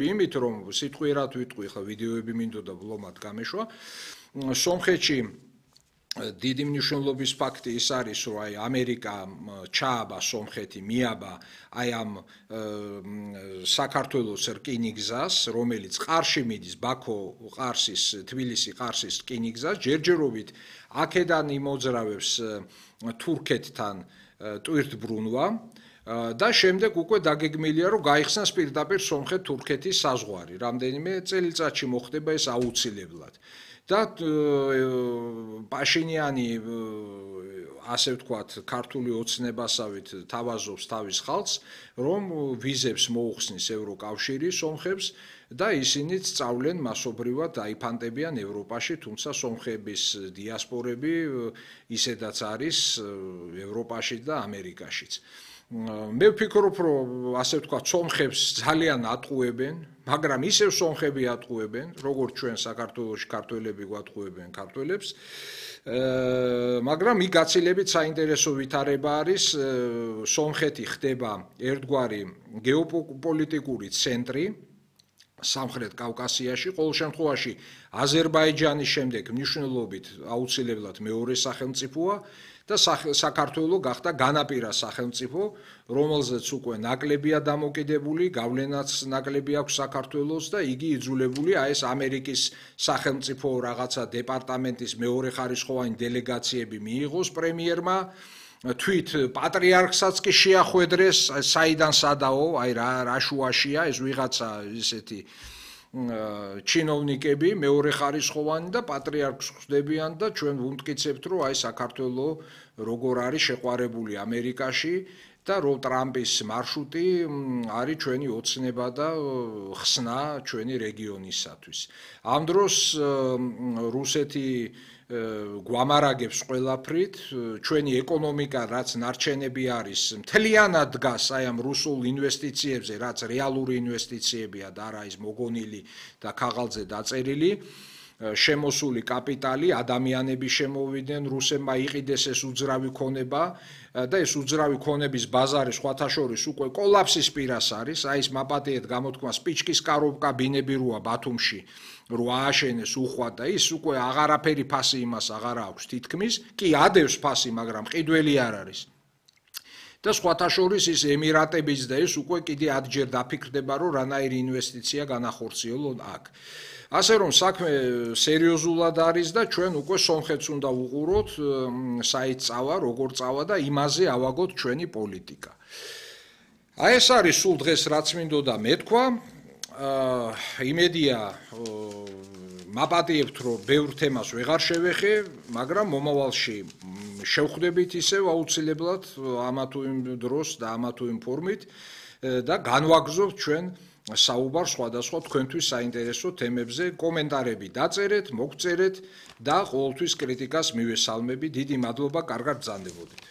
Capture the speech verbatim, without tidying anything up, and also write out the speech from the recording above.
იმით რომ სიტყვიერად ვიტყვი ხა ვიდეოები მინდოდა ვლომად გამეშვა სომხეთში დიდი მნიშვნელობის ფაქტი ის არის რომ აი ამერიკა ჩააბა სომხეთი მიაბა აი ამ საქართველოს რკინიგზას რომელიც ყარში მიდის ბაქო ყარსის თბილისი ყარსის რკინიგზას ჯერჯერობით აქედან იმოძრავებს თურქეთთან ტვირთბრუნვა და შემდეგ უკვე დაგეგმილია რომ გაიხსნას პირდაპირ სომხეთ-თურქეთის საზღვარი. რამდენიმე წელიწადში მოხდება ეს აუცილებლად. და პაშინიანი ასე ვთქვათ, ქართული ოცნებასავით თავაზობს თავის ხალხს, რომ ვიზებს მოუხსნის ევროკავშირი სომხებს და ისინიც სწავლენ მასობრივად დაიფანტებიან ევროპაში, თუმცა სომხების დიასპორები ისედაც არის ევროპაში და ამერიკაშიც. მე ვფიქრობ, რომ ასე ვთქვათ, სომხებს ძალიან ატყუებენ, მაგრამ ისევ სომხები ატყუებენ, როგორც ჩვენ საქართველოში ქართველები გვატყუებენ ქართველებს. მაგრამ იქ გაცილებით საინტერესო ვითარება არის, სომხეთი ხდება ერთგვარი გეოპოლიტიკური ცენტრი სამხრეთ კავკასიაში, ყოველ შემთხვევაში აზერბაიჯანის შემდეგ მნიშვნელობით აუცილებლად მეორე სახელმწიფოა და საქართველო გახდა განაპირა სახელმწიფო, რომელზეც უკვე ნაკლებია დამოკიდებული, გავლენაც ნაკლები აქვს საქართველოს და იგი იძულებულია ეს ამერიკის სახელმწიფო რაღაცა დეპარტამენტის მეორეხარისხოვანი დელეგაციები მიიღოს პრემიერმა, თვით პატრიარქსაც კი შეახვედრეს, საიდან სადაო, აი რა რა შუაშია ეს ვიღაცა ისეთი ჩინოვნიკები მეორეხარისხოვანი და პატრიარქს ხვდებიან და ჩვენ ვუმტკიცებთ რომ აი საქართველო როგორ არის შეყვარებული ამერიკაში და რომ ტრამპის მარშრუტი არის ჩვენი ოცნება და ხსნა ჩვენი რეგიონისათვის. ამ დროს რუსეთი გვამარაგებს ყველაფრით, ჩვენი ეკონომიკა რაც ნარჩენები არის, მთლიანად დგას აი ამ რუსულ ინვესტიციებზე, რაც რეალური ინვესტიციებია და არა ის მოგონილი და ქაღალდზე დაწერილი. შემოსული კაპიტალი, ადამიანები შემოვიდნენ, რუსებმა იყიდეს ეს უძრავი ქონება და ეს უძრავი ქონების ბაზარი სხვათა შორის უკვე კოლაფსის პირას არის, აი ეს მაპატიეთ გამოთქმა სპიჩკის კაროვკა ბინები როა ბათუმში, რო ააშენეს უხვად და ის უკვე აღარაფერი ფასი იმას აღარა აქვს თითქმის, კი ადევს ფასი, მაგრამ ყიდველი არ არის. და სხვათა შორის ის ემირატების და ეს უკვე კიდე ათჯერ დაფიქრდება, რომ რანაირი ინვესტიცია განახორციელონ აქ. ასე რომ საქმე სერიოზულად არის და ჩვენ უკვე სომხეთს უნდა ვუყუროთ, საით წავა, როგორ წავა და იმაზე ავაგოთ ჩვენი პოლიტიკა. აი ეს არის სულ დღეს რაც მინდოდა მეთქვა. იმედია მაპატიებთ რომ ბევრ თემას ვეღარ შევეხე, მაგრამ მომავალში შევხვდებით ისევ აუცილებლად ამა თუ იმ დროს და ამა თუ იმ ფორმით და განვაგრძობთ ჩვენ საუბარ სხვადასხვა თქვენთვის საინტერესო თემებზე. კომენტარები დაწერეთ, მოგწერეთ და ყოველთვის კრიტიკას მივესალმები. დიდი მადლობა, კარგად ბრძანდებოდეთ.